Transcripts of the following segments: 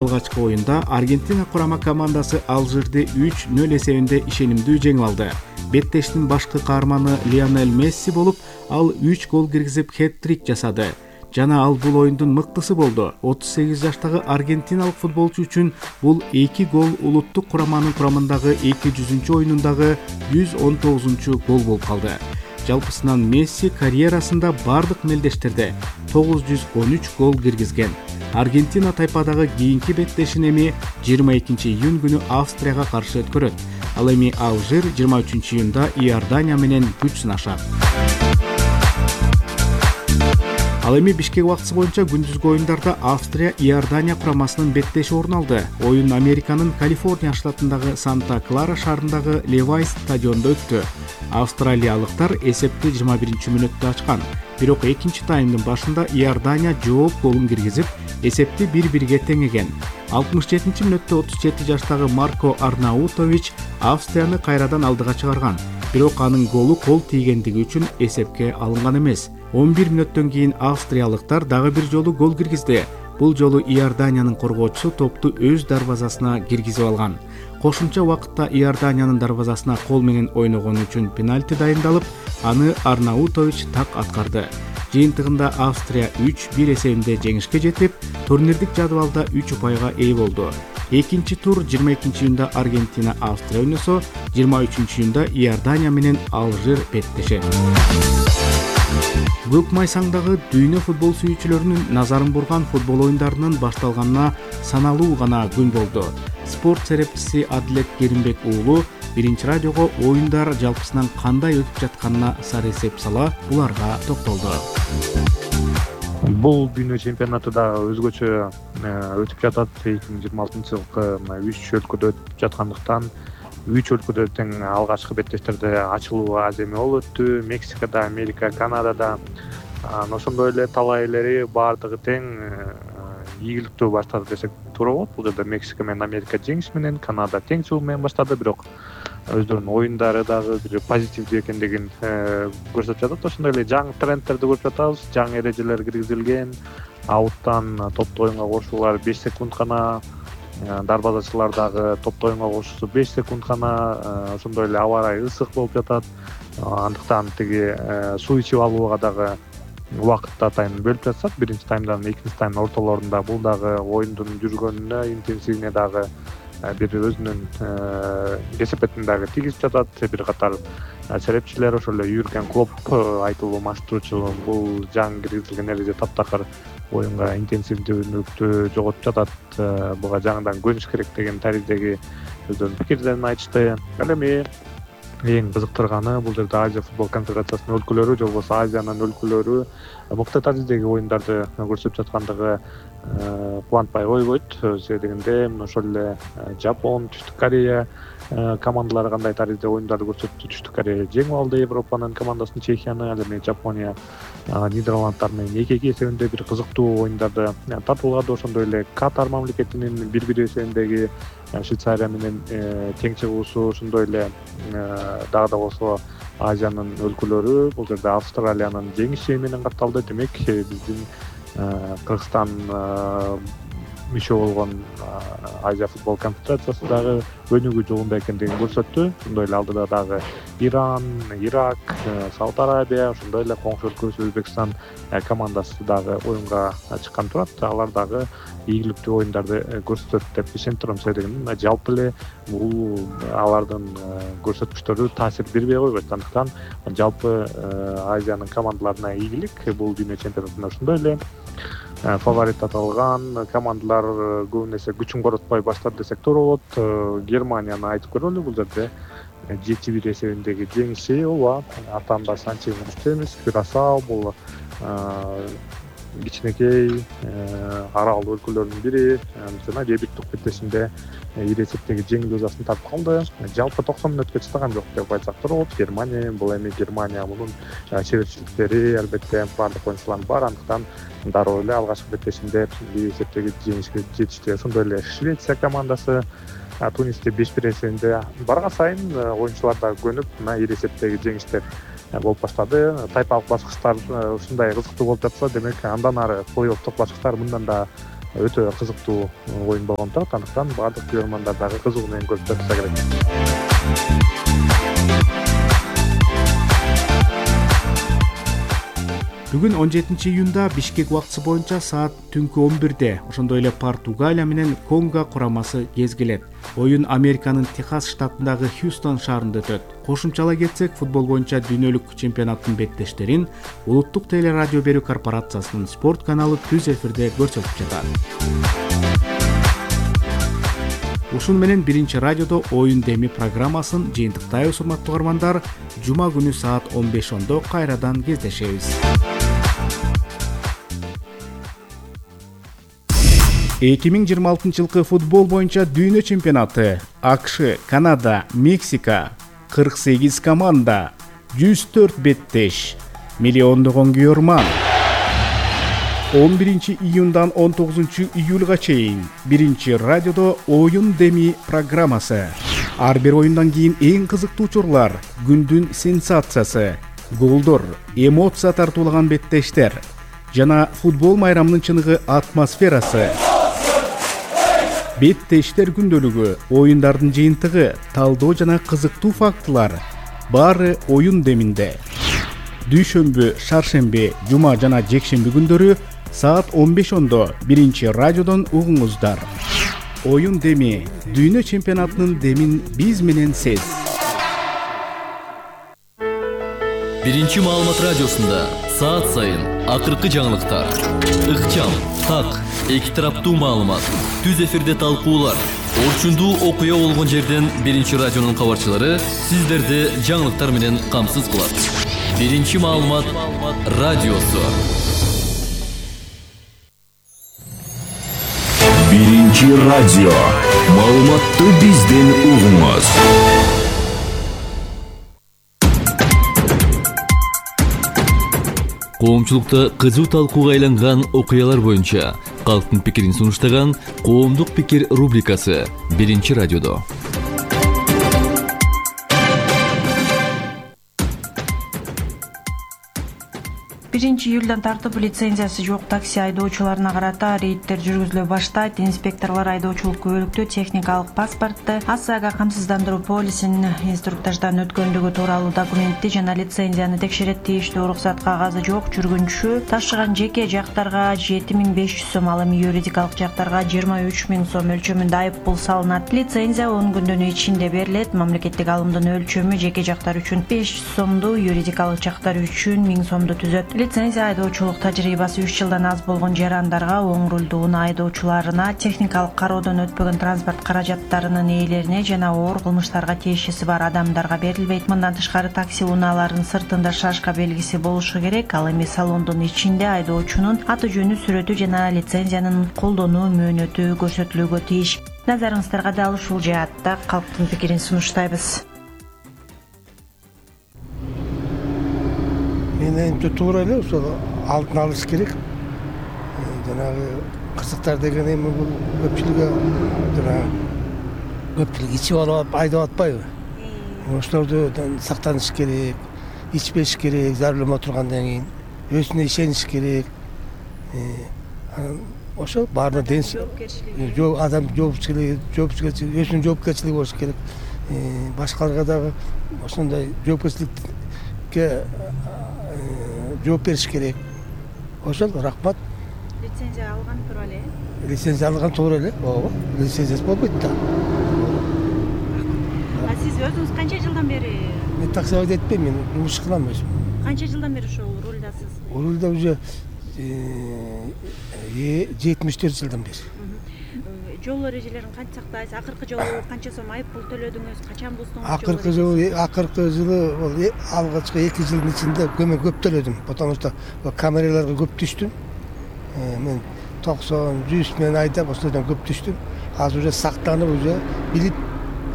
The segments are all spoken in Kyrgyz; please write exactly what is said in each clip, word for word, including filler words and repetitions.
Алгачкы оюнда Аргентина курама командасы Алжирди үч нөл эсебинде ишенимдүү жеңип алды. Беттештин башкы каарманы Лионель Месси болуп, ал үч гол киргизип хэт-трик жасады. Жана ал бул оюндун мыктысы болду. отуз сегиз жаштагы аргентиналык футболчу үчүн бул эки гол улуттук кураманын курамындагы эки жүзүнчү оюнундагы жүз он тогузунчу гол болуп калды. Жалпысынан Месси карьерасында бардык мелдештерде тогуз жүз он үч гол киргизген. Аргентина тайпадагы кийинки беттешин эми жыйырма экинчи июнь күнү Австрияга каршы өткөрөт. Ал эми Алжир жыйырма үчүнчү июнда Иордания менен күч сынашат. Ал эми Бишкек убактысы боюнча күндүзгү оюндарда Австрия Иордания курамасынын беттеши орун алды. Оюн Американын Калифорния штатындагы Санта-Клара шаарындагы Левайс стадионунда өттү. Австралиялыктар эсепти жыйырма биринчи мүнөттө ачкан. Бирок экинчи таймдын башында Иордания жооп голун киргизип, эсепти бир-бирге теңеген. алтымыш жетинчи мүнөттө отуз жети жаштагы Марко Арнаутович Австрияны кайрадан алдыга чыгарган. Бирок анын голу кол тийгендиги үчүн эсепке алынган эмес. он бир мүнөттөн кийин австриялыктар дагы бир жолу гол киргизди. Бул жолу Иорданиянын коргоочусу топту өз дарбазасына киргизип алган. Кошумча убакытта Иорданиянын дарбазасына кол менен ойногону үчүн пенальти дайындалып, аны Арнаутович так аткарды. Жыйынтыгында Австрия үч бир эсебинде жеңишке жетип, турнирдик жадыбалда үч упайга ээ болду. Экинчи тур жыйырма экинчи июнда Аргентина Австрия ойносо, жыйырма үчүнчү июнда Иордания менен Алжир беттешет. Көк майсаңдагы дүйнө футбол сүйүүчүлөрүнүн назарын бурган футбол оюндарынын башталганына саналуу гана күн болду. Спорт серепчиси Адилет Керимбек уулу биринчи радиого оюндар жалпысынан кандай өтүп жатканына сары эсеп сала, буларга токтолду. Бул дүйнө чемпионаты да өзгөчө өтүп жатат. эки миң жыйырма алтынчы жылкы үч өлкөдө өтүп жаткандыктан үч өлкөдө тең алгачкы беттештерде ачылуу аз эме болуп өттү. Мексикада, Америка, Канадада ошондой эле талай элери баардыгы тең ийгиликтүү баштады десек туура болот. Бул жерде Мексика менен Америка жеңиш менен, Канада теңчүү менен баштады, бирок өздөрүнүн оюндары дагы бир позитивдүү экендигин көрсөтүп жатат. Ошондой эле жаңы трендтерди көрүп жатабыз. Жаңы эрежелер киргизилген. Ауттан топту оюнга кошуулар беш секунд гана, дарбазачылар дагы топту оюнга кошуусу беш секунд гана. Ошондой эле аба ырайы ысык болуп жатат. Андыктан тиги суу ичип алууга дагы убакытта тайм бөлүп жатышат. Биринчи таймдан экинчи таймдын ортолорунда бул дагы оюндун жүргөнүнө, интенсивине дагы бир өзүнүн кесепетин дагы тийгизип жатат. Бир катар серепчилер, ошол эле Юрген Клоп айтылуу маштуучу, бул жаңы киргизилген эреже таптакыр оюнга интенсивдүүлүктү жоготуп жатат. Буга жаңыдан көнүш керек деген тариздеги өздөрүнүн пикирлерин айтышты. Ал эми эң кызыктырганы бул жерде Азия футбол конфедерациясынын өлкөлөрү же болбосо Азиянын өлкөлөрү мыкты тариздеги оюндарды көрсөтүп жаткандыгы кубантпай койбойт. Себеби дегенде ошол эле Жапон, Түштүк Корея командалары кандай таризде оюндарды көрсөттү. Түштүк Корея жеңип алды Европанын командасын, Чехияны. Ал эми Жапония Нидерландтар менен эки-эки эсебинде бир кызыктуу оюндарды татуулады. Ошондой эле Катар мамлекетинин бир-бир эсебиндеги Швейцария менен тең чыгуусу, ошондой эле дагы да болсо Азиянын өлкөлөрү бул жерде Австралиянын жеңиши менен катталды. Демек биздин Кыргызстан мүчө болгон Азия футбол конфедерациясы дагы өнүгүү жолунда экендигин көрсөттү. Ошондой эле алдыда дагы Иран, Ирак, Сауд Арабия, ошондой эле коңшу өлкөбүз Өзбекстан командасы дагы оюнга чыккан турат. Алар дагы ийгиликтүү оюндарды көрсөтөт деп ишенип турам. Себеби жалпы эле бул алардын көрсөткүчтөрү таасир бербей койбойт. Андыктан жалпы Азиянын командаларына ийгилик. Бул дүйнө чемпионатында ошондой эле фаворит аталган командалар көбүн эсе күчүн коротпой баштады десек туура болот. Германияны айтып көрөлү. Бул жерде жети бир эсебиндеги жеңиши, ооба, атаанда Санчес эмес, Кюрасао бул кичинекей аралдуу өлкөлөрдүн бири жана дебюттук беттешинде ири эсептеги жеңил жазасын тартып калды. Жалпы токсон мүнөткө чыдаган жок деп айтсак туура болот. Германия, бул эми Германия мунун чеберчиликтери албетте баардык оюнчулардын бар. Андыктан дароо эле алгачкы беттешинде ири эсептеги жеңишке жетишти. Ошондой эле Швеция командасы Тунисти беш бир эсебинде барган сайын оюнчулар да көнүп, мына ири эсептеги жеңиштер болуп баштады. Тайпалык баскычтар ушундай кызыктуу болуп жатса, демек андан ары плей-оффтук баскычтар мындан да өтө кызыктуу оюн болгондуктан андыктан баардык көрөрмандар дагы кызыгуу менен көрүп жатса керек. Бүгүн он жетинчи июнда Бишкек убактысы боюнча саат түнкү он бирде ошондой эле Португалия менен Конго курамасы кезгилет. Оюн Американын Техас штатындагы Хьюстон шаарында өтөт. Кошумчалай кетсек, футбол боюнча дүйнөлүк чемпионаттын беттештерин Улуттук телерадио берүү корпорациясынын спорт каналы түз эфирде көрсөтүп жатат. Ушун менен биринчи радиодо оюн деми программасын жыйынтыктайбыз, урматтуу угармандар. Жума күнү саат он беш ондо кайрадан кездешебиз. эки миң жыйырма алтынчы жылкы футбол боюнча дүйнө чемпионаты АКШ, Канада, Мексика, кырк сегиз команда, жүз төрт беттеш, миллиондогон көрөрман. он биринчи июндан он тогузунчу июлга чейин биринчи радиодо оюн деми программасы. Ар бир оюндан кийин эң кызыктуу учурлар, күндүн сенсациясы, голдор, эмоция тартуулаган беттештер жана футбол майрамынын чыныгы атмосферасы. Беттештер күндөлүгү, оюндардын жыйынтыгы, талдоо жана кызыктуу фактылар баары оюн деминде. Дүйшөмбү, шаршемби, жума жана жекшемби күндөрү саат он беш ондо биринчи радиодон угуңуздар. Оюн деми, дүйнө чемпионатынын демин биз менен сез. Биринчи маалымат радиосунда саат сайын акыркы жаңылыктар, ыкчам, так, эки тараптуу маалымат, түз эфирде талкуулар, орчундуу окуя болгон жерден биринчи радионун кабарчылары сиздерди жаңылыктар менен камсыз кылат. Биринчи маалымат радиосу. Биринчи радио. Маалыматты бизден угуңуз. Коомчулукта кызуу талкууга айланган окуялар боюнча калктын пикирин сунуштаган Коомдук пикир рубрикасы биринчи радиодо. биринчи июлдан тартып лицензиясы жок такси айдоочуларына карата рейдтер жүргүзүлө баштайт. Инспекторлор айдоочулук күбөлүктүү техникалык паспортты, АСАга камсыздандыруу полисин инструктаждан өткөндүгү тууралуу документти жана лицензияны текшерет. Тийиштүү уруксат кагазы жок жүргүнчү ташыган жеке жактарга жети миң беш жүз сом, ал эми юридикалык жактарга жыйырма үч миң сом өлчөмүндө айып пул салынат. Лицензия он күндүн ичинде берилет. Мамлекеттик алымдын өлчөмү жеке жактар үчүн беш жүз сомду, юридикалык жактар үчүн миң сомду түзөт. Лицензия айдоочулук тажрыйбасы үч жылдан аз болгон жарандарга, оң рулдуу айдоочуларына, техникалык кароодон өтпөгөн транспорт каражаттарынын ээлерине жана оор кылмыштарга тиешеси бар адамдарга берилбейт. Мындан тышкары такси унааларынын сыртында шашка белгиси болушу керек. Ал эми салондун ичинде айдоочунун аты жөнү, сүрөтү жана лицензиянын колдонуу мөөнөтү көрсөтүлүүгө тийиш. Назарыңыздарга дал ушул жаатта калктын пикирин сунуштайбыз. Менимче туура эле, ошол алдын алыш керек. Жанагы кырсыктар деген эми бул көпчүлүгү жанагы көпчүлүк ичип алып айдап атпайбы? Ошолорду сактаныш керек, ичпеш керек, за рулем отургандан кийин өзүнө ишениш керек. Ошол баардык денс жок адам жоопкерчилиги, жоопкерчилиги, өзүнүн жоопкерчилиги болуш керек. Башкаларга дагы ошондой жоопкерчиликке жооп бериш керек. Ошол рахмат. Лицензия алган туура эле. Лицензия алган туура эле. Ооба, лицензиясы болбойт да. А сиз өзүңүз канча жылдан бери? Мен такси айдайт-этпейм, мен жумуш кылам өзүм. Канча жылдан бери ошол рулдасыз? Рулда уже жетимиш төрт жылдан бери. Жол эрежелерин кантип сактайсыз? Акыркы жолу канча сом айып пул төлөдүңүз? Качан буздуңуз? Акыркы жолу, акыркы жылы ол алгачкы эки жылдын ичинде көмөк көп төлөдүм. Потому что камераларга көп түштүм. Мен токсон, жүз менен айдап ошолордон көп түштүм. Азыр уже сактанып, уже билип,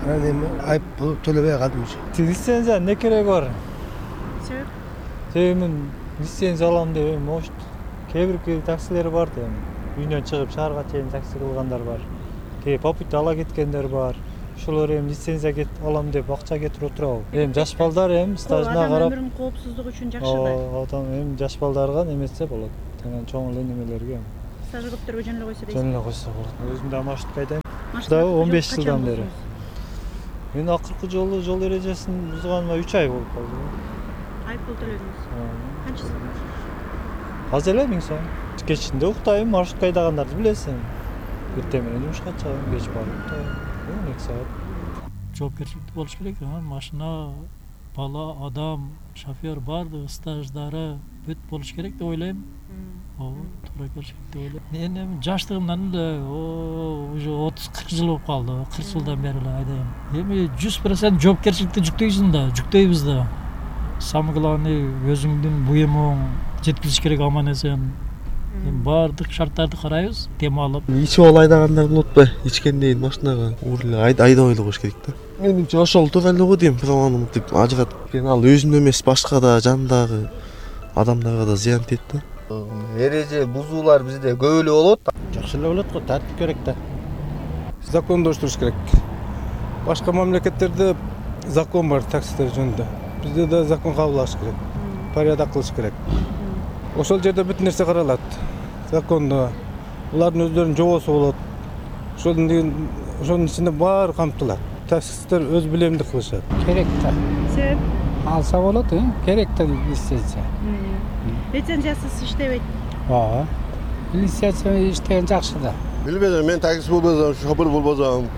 анан эми айып пул төлөбөй калдым уже. Лицензия не кереги бар? Себеп? Себеби мен лицензия алам деп эми может кээ бир таксилер бар да эми. Үйүнөн чыгып шаарга чейин такси кылгандар бар. Кээ попутта ала кеткендер бар. Ошолор эми лицензия кет алам деп акча кетирип отурабы. Эми жаш балдар эми стажына карап. Өмүрүнүн коопсуздугу үчүн жакшы да. Адам эми жаш балдарга немесе болот. Анан чоң эле немелерге. стажы көптөргө жөн эле койсо дейсиз. Жөн эле койсо болот. Өзүм да маршрутка айдайм. Да он беш жылдан бери. Мен акыркы жолу жол эрежесин бузганыма үч ай болуп калды. Айыппул төлөдүңүз. Канча сом? Аз эле миң сом. Кечинде уктайм, маршрутка айдагандарды билесиң. Эртең менен жумушка чыгам, кеч барып уктайм. эки саат. Жоопкерчиликтүү болуш керек. Машина, бала, адам, шофер баардыгы стаждары бүт болуш керек деп ойлойм. Ооба, туура келиш керек деп ойлойм. Мен эми жаштыгымдан эле уже отуз кырк жыл болуп калды. кырк жылдан бери эле айдайм. Эми жүз процент жоопкерчиликти жүктөйсүң да, жүктөйбүз да. Самое главное өзүңдүн буюмуң жеткизиш керек аман эсен. Эми баардык шарттарды карайбыз, тем алып. Ичип алып айдагандар болот ба? Ичкенден машинага уур айдабай эле коюш керек да. Менимче ошол туура эле го дейм, праваны мынтип ажыратып. Ал өзүнө эмес, башка да жандагы адамдарга да зыян тиет да. Эреже бузуулар бизде көп эле болот. Жакшы эле болот го, тартип керек да. Закондоштуруш керек. Башка мамлекеттерде закон бар таксилер жөнүндө. Бизде да закон кабылдаш керек. Порядок кылыш керек. Ошол жерде бүт нерсе каралат. Закондо булардын өздөрүнүн жобосу болот. Ошонун ошонун ичинде баары камтылат. Таксисттер өз билемдик кылышат. Керек да. Себеп? Алса болот, керек да лицензия. Лицензиясыз иштебейт. Ооба. Лицензия иштеген жакшы да. Билбедим, мен такси болбосом, шофер болбосом,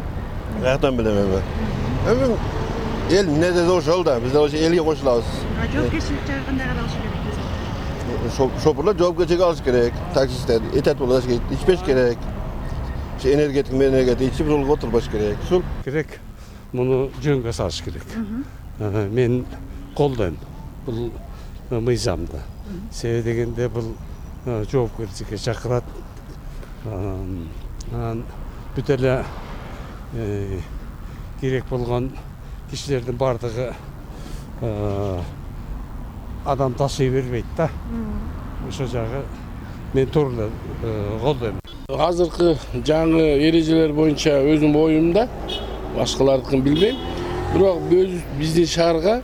каяктан билем эми. Эми эл эмне десе ошол да, биз ошо элге кошулабыз. Жоопкерчилик жагы кандай каралыш керек? Шоферлор жоопкерчилик алыш керек, таксисттер этат болуш керек, ичпеш керек. Энергетик энергетик ичип жолго отурбаш керек. Ушул керек. Муну жөнгө салыш керек. Мен колдойм бул мыйзамды. Себеби дегенде бул жоопкерчиликке чакырат. Анан бүт эле керек болгон кишилердин бардыгы адам ташый бербейт да. Ошол жагы мен туура эле колдойм. Азыркы жаңы эрежелер боюнча өзүм оюмда, башкалардыкын билбейм. Бирок биздин шаарга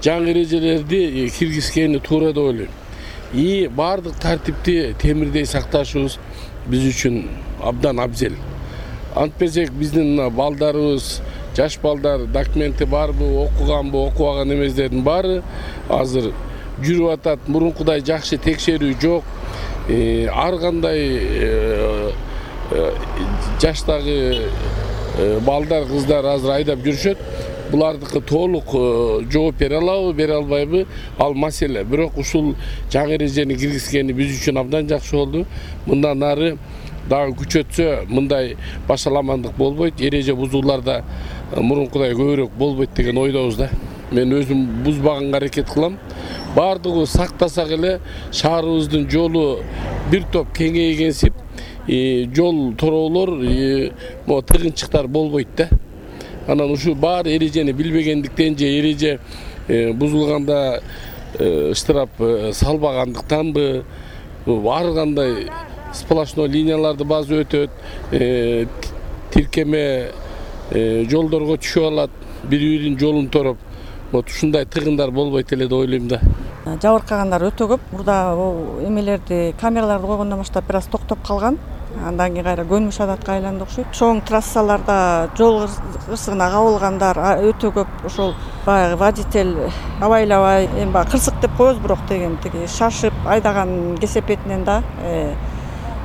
жаңы эрежелерди киргизгени туура деп ойлойм. И бардык тартипти темирдей сакташыбыз биз үчүн абдан абзел. Антпесек биздин балдарыбыз, жаш балдар документи барбы, окуганбы, окубаган эместердин баары азыр жүрүп атат. Мурункудай жакшы текшерүү жок. Ар кандай жаштагы балдар, кыздар азыр айдап жүрүшөт. Булардыкы толук жооп бере алабы, бере албайбы, ал маселе. Бирок ушул жаңы эрежени киргизгени биз үчүн абдан жакшы болду. Мындан ары дагы күчөтсө мындай башаламандык болбойт. Эреже бузууларда мурункудай көбүрөөк болбойт деген ойдобуз да. Мен өзүм бузбаганга аракет кылам. Бардыгы сактасак эле шаарыбыздын жолу бир топ кеңейгенсип, жол тороолор, могу тыгынчыктар болбойт да. Анан ушул баары эрежени билбегендиктен же эреже бузулганда штраф салбагандыктанбы, ар кандай сплошной линияларды базы өтөт, тиркеме жолдорго түшүп алат, бири-биринин жолун тороп. Вот ушундай тыгындар болбойт эле деп ойлойм да. Жабыркагандар өтө көп. Мурда эмелерди, камераларды койгондон баштап бир аз токтоп калган. Андан кийин кайра көнүмүш адатка айланды окшойт. Чоң трассаларда жол кырсыгына кабылгандар өтө көп. Ошол баягы водитель абайлабай, эми баягы кырсык деп коебуз, бирок деген тиги шашып айдаган кесепетинен да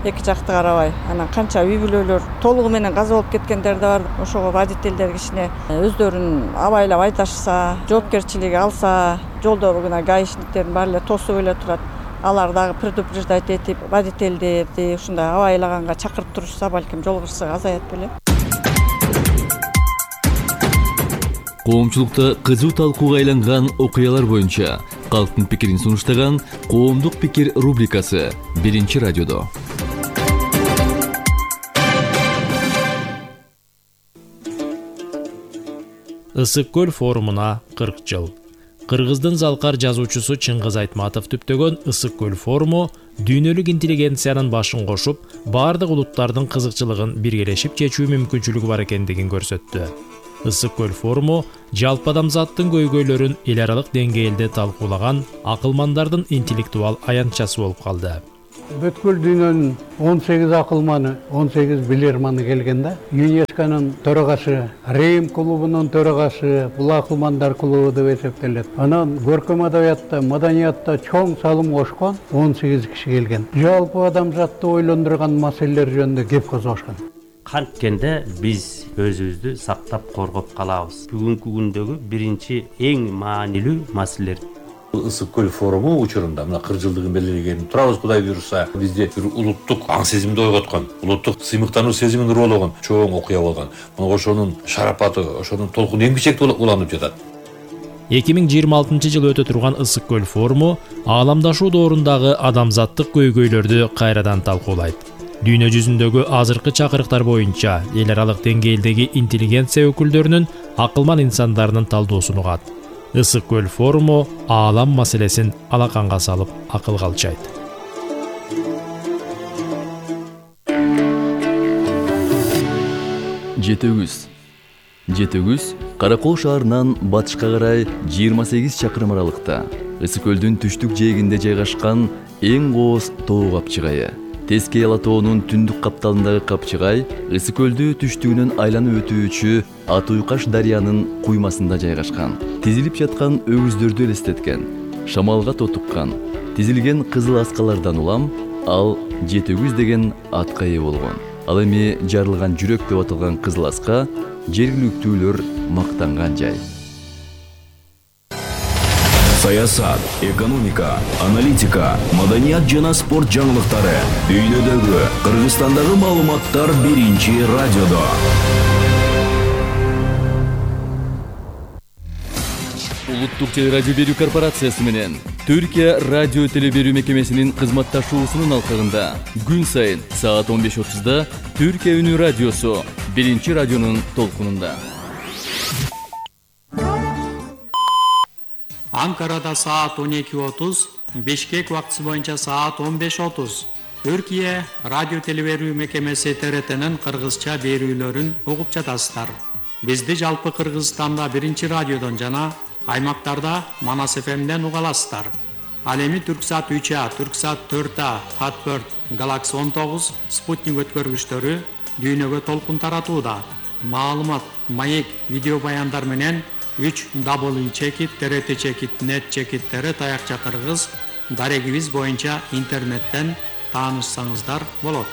эки жакты карабай, анан канча үй бүлөлөр толугу менен каза болуп кеткендер да бар. Ошого водительдер кичине өздөрүн абайлап айдашса, жоопкерчилик алса, жолдо гана гаишниктердин баары эле тосуп эле турат. Алар дагы предупреждать этип, водительдерди ушундай абайлаганга чакырып турушса, балким жол кырсыгы азаят беле. Коомчулукта кызуу талкууга айланган окуялар боюнча калктын пикирин сунуштаган Коомдук пикир рубрикасы биринчи радиодо. Ысык көл форумуна кырк жыл. Кыргыздын залкар жазуучусу Чыңгыз Айтматов түптөгөн Ысык көл форуму дүйнөлүк интеллигенциянын башын кошуп, бардык улуттардын кызыкчылыгын биргелешип чечүү мүмкүнчүлүгү бар экендигин көрсөттү. Ысык көл форуму жалпы адамзаттын көйгөйлөрүн эл аралык деңгээлде талкуулаган акылмандардын интеллектуал аянтчасы болуп калды. Бүткүл дүйнөнүн он сегиз акылманы, он сегиз билерманы келген да. ЮНЕСКОнун төрагасы, Рим клубунун төрагасы, бул акылмандар клубу деп эсептелет. Анан көркөм адабиятта, маданиятта чоң салым кошкон он сегиз киши келген. Жалпы адамзатты ойлондурган маселелер жөнүндө кеп козгошкон. Канткенде биз өзүбүздү сактап коргоп калабыз. Бүгүнкү күндөгү биринчи эң маанилүү маселелер. Ысык көл форуму учурунда мына кырк жылдыгын белгилеген турабыз, Кудай буйруса. Бизде бир улуттук аң сезимди ойготкон, улуттук сыймыктануу сезимин уруулаган чоң окуя болгон. Мына ошонун шарапаты, ошонун толкуну эң бичекте уланып жатат. эки миң жыйырма алтынчы жылы өтө турган Ысык көл форуму ааламдашуу доорундагы адамзаттык көйгөйлөрдү кайрадан талкуулайт. Дүйнө жүзүндөгү азыркы чакырыктар боюнча эл аралык деңгээлдеги интеллигенция өкүлдөрүнүн акылман инсандарынын талдоосун угат. Ысык көл форуму аалам маселесин алаканга салып акылга алчайт. Жетөгүз. Жетөгүз Каракол шаарынан батышка карай жыйырма сегиз чакырым аралыкта, Ысык көлдүн түштүк жээгинде жайгашкан эң кооз тоо капчыгайы. Тескей Ала тоонун түндүк капталындагы капчыгай Ысык көлдү түштүгүнөн айланып өтүүчү Ат Уйкаш дарыянын куймасында жайгашкан. Тизилип жаткан өгүздөрдү элестеткен, шамалга тотуккан, тизилген кызыл аскалардан улам ал Жетөгүз деген атка ээ болгон. Ал эми жарылган жүрөк деп аталган кызыл аска жергиликтүүлөр мактанган жай. Саясат, экономика, аналитика, маданият жана спорт жаңылыктары дүйнөдөгү, Кыргызстандагы маалыматтар биринчи радиодо. Улуттук телерадио берүү корпорациясы менен Түркия радио телеберүү мекемесинин кызматташуусунун алкагында күн сайын саат он беш отузда Түркия үнү радиосу биринчи радионун толкунунда. Анкарада саат он эки отуз, Бишкек убактысы боюнча саат он беш отуз. Түркия радио телеберүү мекемеси Т Р Т'нин кыргызча берүүлөрүн угуп жатасыздар. Бизди жалпы Кыргызстанда биринчи радиодон жана аймактарда Манас эф эмден уга аласыздар. Ал эми Түрксат үч А, Түрксат төрт А, Хатберт, Галакси он тогуз, Спутник өткөргүчтөрү дүйнөгө толкун таратууда. Маалымат, маек, видео баяндар менен үч дабл ю чекит, Т Р Т чекит, нет чекиттери таякча кыргыз дарегибиз боюнча интернеттен таанышсаңыздар болот.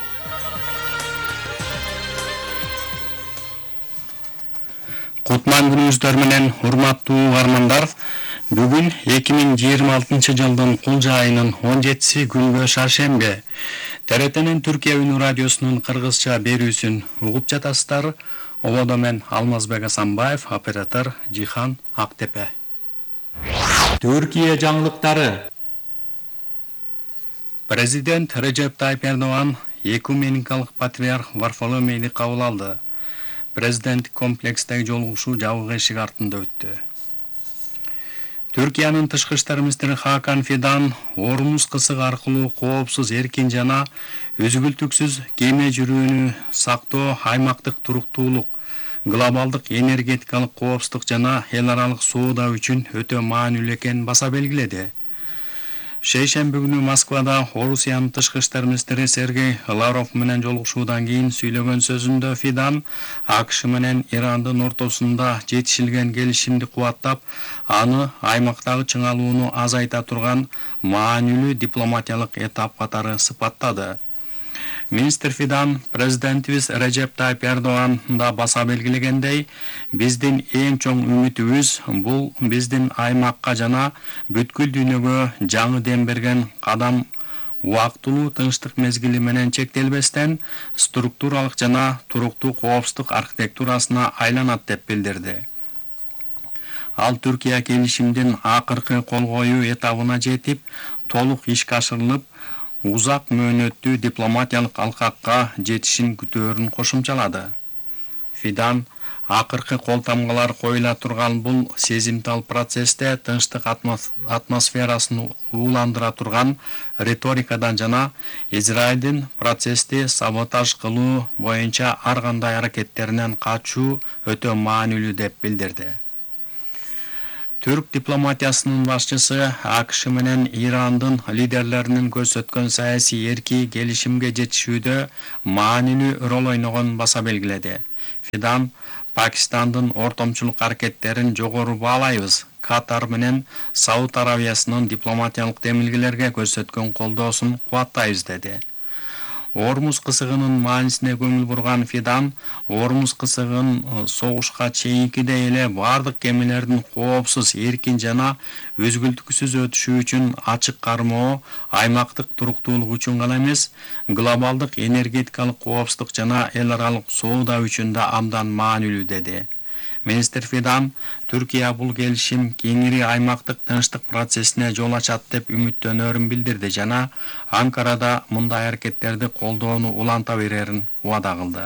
Кутман күнүңүздөр менен урматтуу угармандар, бүгүн эки миң жыйырма алтынчы жылдын кулжа айынын он жетиси күнгө шаршембе. Т Р Т'нин Түркия үнү радиосунун кыргызча берүүсүн угуп жатасыздар. Ободо мен Алмазбек Асанбаев, оператор Жихан Актепе. Түркия жаңылыктары. Президент Режеп Тайып Эрдоган экуменикалык патриарх Варфоломейди кабыл алды. Президент комплекстеги жолугушуу жабык эшик артында өттү. Түркиянын тышкы иштер министри Хакан Фидан Ормуз кысыгы аркылуу коопсуз, эркин жана өзгүлтүксүз кеме жүрүүнү сактоо аймактык туруктуулук, глобалдык энергетикалык коопсуздук жана эл аралык соода үчүн өтө маанилүү экенин баса белгиледи. Шейшемби күнү Москвада Орусиянын тышкы иштер министри Сергей Лавров менен жолугушуудан кийин сүйлөгөн сөзүндө Фидан АКШ менен Ирандын ортосунда жетишилген келишимди кубаттап, аны аймактагы чыңалууну азайта турган маанилүү дипломатиялык этап катары сыпаттады. Министр Фидан президентибиз Режеп Тайып Эрдоган да баса белгилегендей, биздин эң чоң үмүтүбүз бул биздин аймакка жана бүткүл дүйнөгө жаңы дем берген кадам убактылуу тынчтык мезгили менен чектелбестен структуралык жана туруктуу коопсуздук архитектурасына айланат деп билдирди. Ал Түркия келишимдин акыркы кол коюу этабына жетип, толук ишке ашырылып, узак мөөнөттүү дипломатиялык алкакка жетишин күтөөрүн кошумчалады. Фидан акыркы кол тамгалар коюла турган бул сезимтал процессте тынчтык атмосферасын ууландыра турган риторикадан жана Израилдин процессти саботаж кылуу боюнча ар кандай аракеттеринен качуу өтө маанилүү деп билдирди. Түрк дипломатиясынын башчысы АКШ менен Ирандын лидерлеринин көрсөткөн саясий эрки келишимге жетишүүдө маанилүү роль ойногонун баса белгиледи. Фидан Пакистандын ортомчулук аракеттерин жогору баалайбыз. Катар менен Сауд Аравиясынын дипломатиялык демилгелерге көрсөткөн колдоосун кубаттайбыз деди. Ормуз кысыгынын маанисине көңүл бурган Фидан, Ормуз кысыгын согушка чейинкидей эле бардык кемелердин коопсуз, эркин жана өзгүлтүксүз өтүшү үчүн ачык кармоо, аймактык туруктуулук үчүн гана эмес, глобалдык энергетикалык коопсуздук жана эл аралык соода үчүн да абдан маанилүү деди. Министр Фидан Түркия бул келишим кеңири аймактык тынчтык процессине жол ачат деп үмүттөнөрүн билдирди жана Анкарада мындай аракеттерди колдоону уланта берерин убада кылды.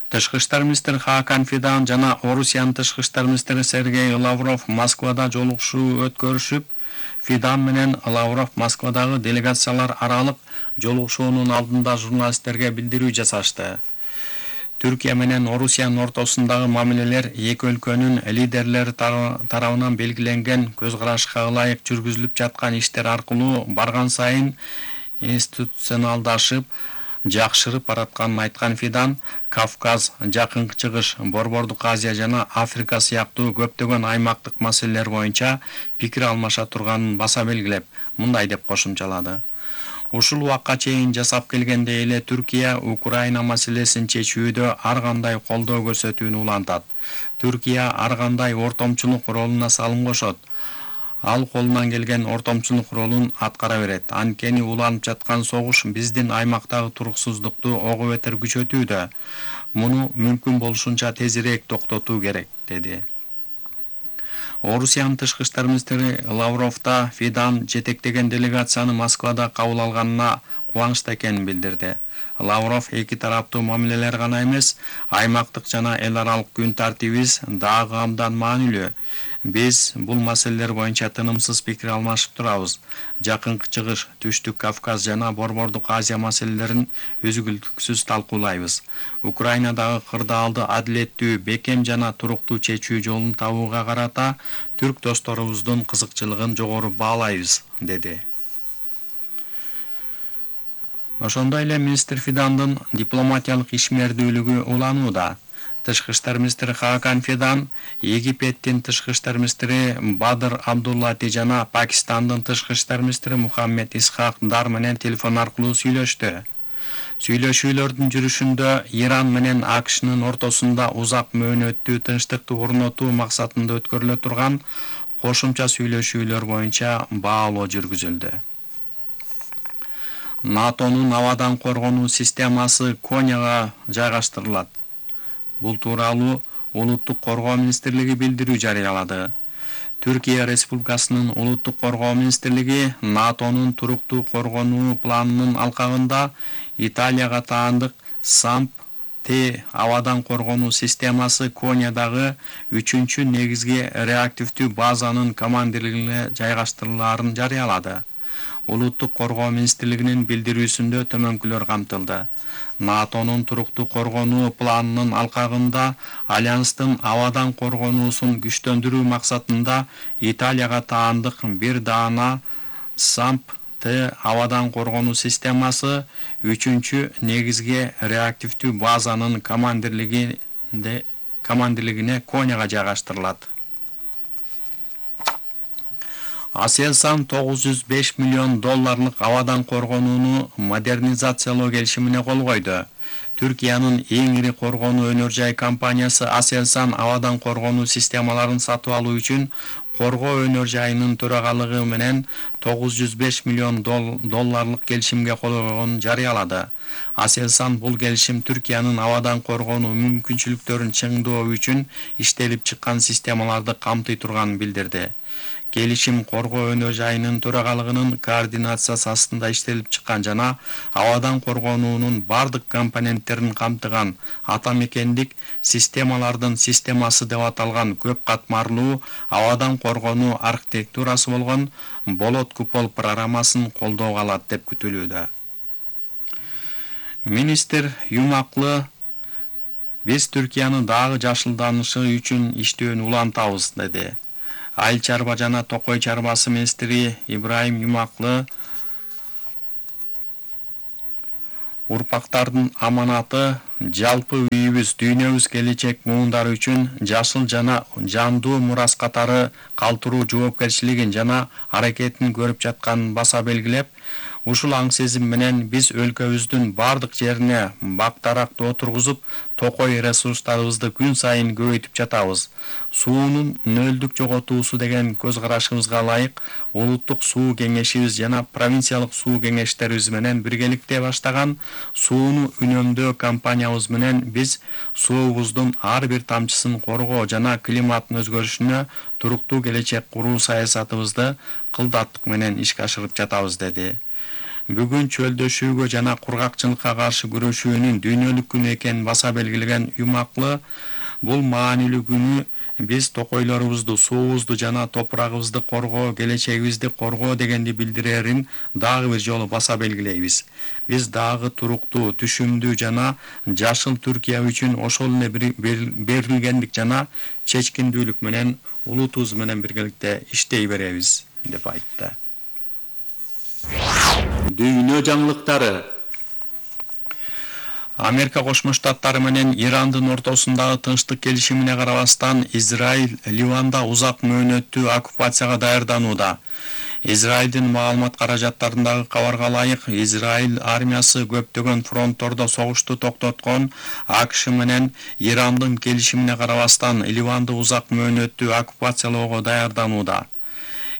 Тышкы иштер министри Хакан Фидан жана Орусиянын тышкы иштер министри Сергей Лавров Москвада жолугушуу өткөрүшүп, Фидан менен Лавров Москвадагы делегациялар аралык жолугушуунун алдында журналисттерге билдирүү жасашты. Түркия менен Орусиянын ортосундагы мамилелер эки өлкөнүн лидерлери тарабынан белгиленген көз карашка ылайык жүргүзүлүп жаткан иштер аркылуу барган сайын институционалдашып, жакшырып баратканын айткан Фидан, Кавказ, Жакынкы Чыгыш, Борбордук Азия жана Африка сыяктуу көптөгөн аймактык маселелер боюнча пикир алмаша турганын баса белгилеп, мындай деп кошумчалады. Ушул убакка чейин жасап келгендей эле Түркия Украина маселесин чечүүдө ар кандай колдоо көрсөтүүнү улантат. Түркия ар кандай ортомчулук ролуна салым кошот. Ал колунан келген ортомчулук ролун аткара берет. Анткени уланып жаткан согуш биздин аймактагы туруксуздукту ого бетер күчөтүүдө. Муну мүмкүн болушунча тезирээк токтотуу керек, деди. Орусиянын тышкы иштер министри Лавров да Фидан жетектеген делегацияны Москвада кабыл алганына кубанычта экенин билдирди. Лавров эки тараптуу мамилелер гана эмес, аймактык жана эл аралык күн тартибибиз дагы абдан маанилүү. Биз бул маселелер боюнча тынымсыз пикир алмашып турабыз. Жакынкы Чыгыш, Түштүк Кавказ жана Борбордук Азия маселелерин өзгүлтүксүз талкуулайбыз. Украинадагы кырдаалды адилеттүү, бекем жана туруктуу чечүү жолун табууга карата түрк досторубуздун кызыкчылыгын жогору баалайбыз, деди. Ошондой эле министр Фидандын дипломатиялык ишмердүүлүгү уланууда. Тышкы иштер министри Хакан Фидан, Египеттин тышкы иштер министри Бадыр Абдуллати жана Пакистандын тышкы иштер министри Мухаммед Исхак Дар менен телефон аркылуу сүйлөштү. Сүйлөшүүлөрдүн жүрүшүндө Иран менен АКШнын ортосунда узак мөөнөттүү тынчтыкты орнотуу максатында өткөрүлө турган кошумча сүйлөшүүлөр боюнча баалоо жүргүзүлдү. НАТОнун абадан коргонуу системасы Коняга жайгаштырылат. Бул тууралуу Улуттук коргоо министрлиги билдирүү жарыялады. Түркия Республикасынын Улуттук коргоо министрлиги НАТОнун туруктуу коргонуу планынын алкагында Италияга таандык САМП-Т абадан коргонуу системасы Конядагы үчүнчү негизги реактивдүү базанын командирлигине жайгаштырылаарын жарыялады. Улуттук коргоо министрлигинин билдирүүсүндө төмөнкүлөр камтылды. НАТОнун туруктуу коргонуу планынын алкагында Альянстын абадан коргонуусун күчтөндүрүү максатында Италияга таандык бир даана САМП-Т абадан коргонуу системасы үчүнчү негизги реактивдүү базанын командирлигинде командирлигине Коняга жайгаштырылат. Аселсан тогуз жүз беш миллион долларлык абадан коргонууну модернизациялоо келишимине кол койду. Түркиянын эң ири коргонуу өнөр жай компаниясы Аселсан абадан коргонуу системаларын сатып алуу үчүн коргоо өнөр жайынын төрагалыгы менен тогуз жүз беш миллион долларлык келишимге кол койгонун жарыялады. Аселсан бул келишим Түркиянын абадан коргонуу мүмкүнчүлүктөрүн чыңдоо үчүн иштелип чыккан системаларды камтый турганын билдирди. Келишим коргоо өнөр жайынын төрагалыгынын координациясы астында иштелип чыккан жана абадан коргонуунун бардык компоненттерин камтыган атамекендик системалардын системасы деп аталган көп катмарлуу абадан коргонуу архитектурасы болгон болот купол программасын колдоого алат деп күтүлүүдө. Министр Юмаклы Биз Түркиянын дагы жашылданышы үчүн иштөөнү улантабыз, деди. Айыл чарба жана токой чарбасы министри Ибраим Юмаклы урпактардын аманаты жалпы үйүбүз, дүйнөбүз, келечек муундар үчүн жашыл жана жандуу мурас катары калтыруу жоопкерчилигин жана аракетин көрүп жатканын баса белгилеп, ушул аң сезим менен биз өлкөбүздүн бардык жерине бактаракты отургузуп, токой ресурстарыбызды күн сайын көбөйтүп жатабыз. Суунун нөлдүк жоготуусу деген көз карашыбызга ылайык улуттук суу кеңешибиз жана провинциялык суу кеңештерибиз менен биргеликте баштаган сууну үнөмдөө кампаниябыз менен биз суубуздун ар бир тамчысын коргоо жана климаттын өзгөрүшүнө туруктуу келечек куруу саясатыбызды кылдаттык менен ишке ашырып жатабыз, деди. Бүгүн чөлдөшүүгө жана кургакчылыкка каршы күрөшүүнүн дүйнөлүк күнү экенин баса белгилеген Юмаклы, бул маанилүү күнү биз токойлорубузду, суубузду жана топурагыбызды коргоо, келечегибизди коргоо дегенди билдирерин дагы бир жолу баса белгилейбиз. Биз дагы туруктуу, түшүмдүү жана жашыл Түркия үчүн ошол эле берилгендик жана чечкиндүүлүк менен улутубуз менен биргеликте иштей беребиз, деп айтты. Дүйнө жаңылыктары. Америка Кошмо Штаттары менен Ирандын ортосундагы тынчтык келишимине карабастан Израиль Ливанда узак мөөнөттүү оккупацияга даярданууда. Израилдин маалымат каражаттарындагы кабарга ылайык, Израиль армиясы көптөгөн фронттордо согушту токтоткон АКШ менен Ирандын келишимине карабастан Ливанды узак мөөнөттүү оккупациялоого даярданууда.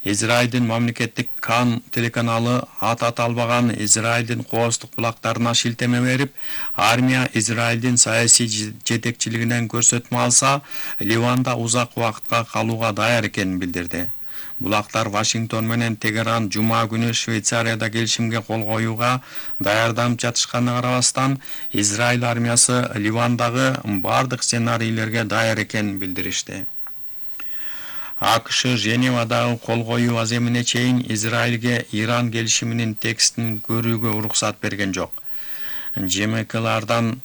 Израилдин мамлекеттик Кан телеканалы ат аталбаган Израилдин кооздук булактарына шилтеме берип, армия Израилдин саясий жетекчилигинен көрсөтмө алса, Ливанда узак убакытка калууга даяр экенин билдирди. Булактар Вашингтон менен Тегеран жума күнү Швейцарияда келишимге кол коюуга даярданып жатышканына карабастан, Израиль армиясы Ливандагы бардык сценарийлерге даяр экенин билдиришти. АКШ Женевадагы кол коюу аземине чейин Израилге Иран келишиминин текстин көрүүгө уруксат берген жок. ЖМКлардан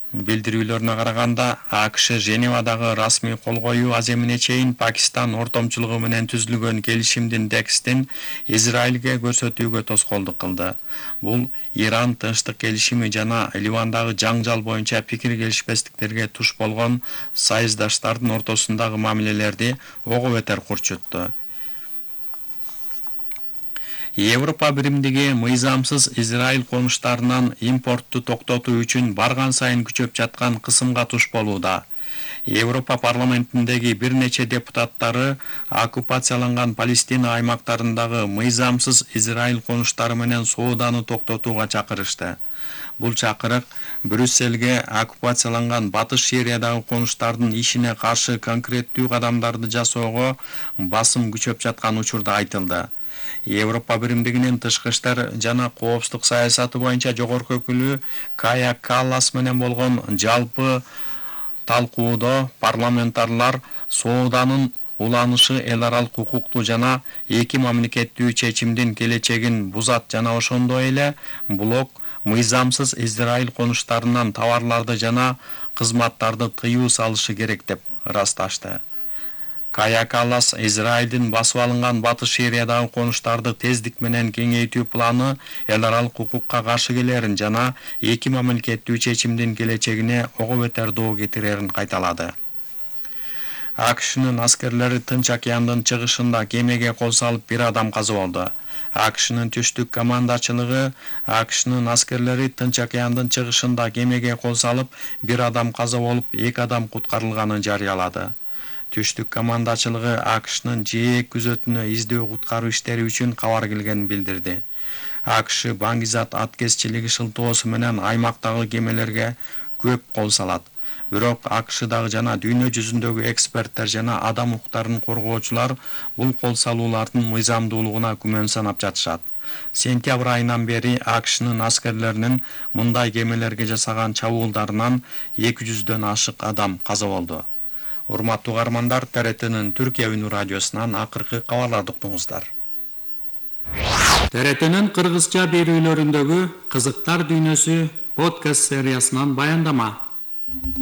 билдирүүлөрүнө караганда, АКШ Женевадагы расмий кол коюу аземине чейин Пакистан ортомчулугу менен түзүлгөн келишимдин текстин Израилге көрсөтүүгө тоскоолдук кылды. Бул Иран тынчтык келишими жана Ливандагы жаңжал боюнча пикир келишпестиктерге туш болгон сайыздаштардын ортосундагы мамилелерди ого бетер курчутту. Европа биримдиги мыйзамсыз Израиль конуштарынан импортту токтотуу үчүн барган сайын күчөп жаткан кысымга туш болууда. Европа парламентиндеги бир нече депутаттары оккупацияланган Палестина аймактарындагы мыйзамсыз Израиль конуштары менен сооданы токтотууга чакырышты. Бул чакырык Брюссельге оккупацияланган Батыш Сириядагы конуштардын ишине каршы конкреттүү кадамдарды жасоого басым күчөп жаткан учурда айтылды. Европа биримдигинин тышкы иштер жана коопсуздук саясаты боюнча жогорку өкүлү Кая Каллас менен болгон жалпы талкуудо парламентарлар сооданын уланышы эл аралык укукту жана эки мамлекеттүү чечимдин келечегин бузат жана ошондой эле блок мыйзамсыз Израиль конуштарынан товарларды жана кызматтарды тыюу салышы керек деп ырасташты. Кая Каллас Израилдин басып алынган Батыш Сириядагы конуштарды тездик менен кеңейтүү планы эл аралык укукка каршы келерин жана эки мамлекеттүү чечимдин келечегине ого бетер доо кетирерин кайталады. АКШнын аскерлери Тынч океандын чыгышында кемеге кол салып бир адам каза болду. АКШнын түштүк командачылыгы АКШнын аскерлери Тынч океандын чыгышында кемеге кол салып бир адам каза болуп, эки адам куткарылганын жарыялады. Түштүк командачылыгы АКШнын жээк күзөтүнө издөө куткаруу иштери үчүн кабар келгенин билдирди. АКШ Баңгизат аткезчилиги шылтоосу менен аймактагы кемелерге көп кол салат. Бирок АКШдагы жана дүйнө жүзүндөгү эксперттер жана адам укуктарын коргоочулар бул кол салуулардын мыйзамдуулугуна күмөн санап жатышат. Сентябрь айынан бери АКШнын аскерлеринин мындай кемелерге жасаган чабуулдарынан эки жүздөн ашык адам каза болду. Урматтуу угармандар, Т Р Т'нин Түркия үнү радиосунан акыркы кабарларды уктуңуздар. Т Р Т'нин кыргызча берүүлөрүндөгү кызыктар дүйнөсү подкаст сериясынан баяндама.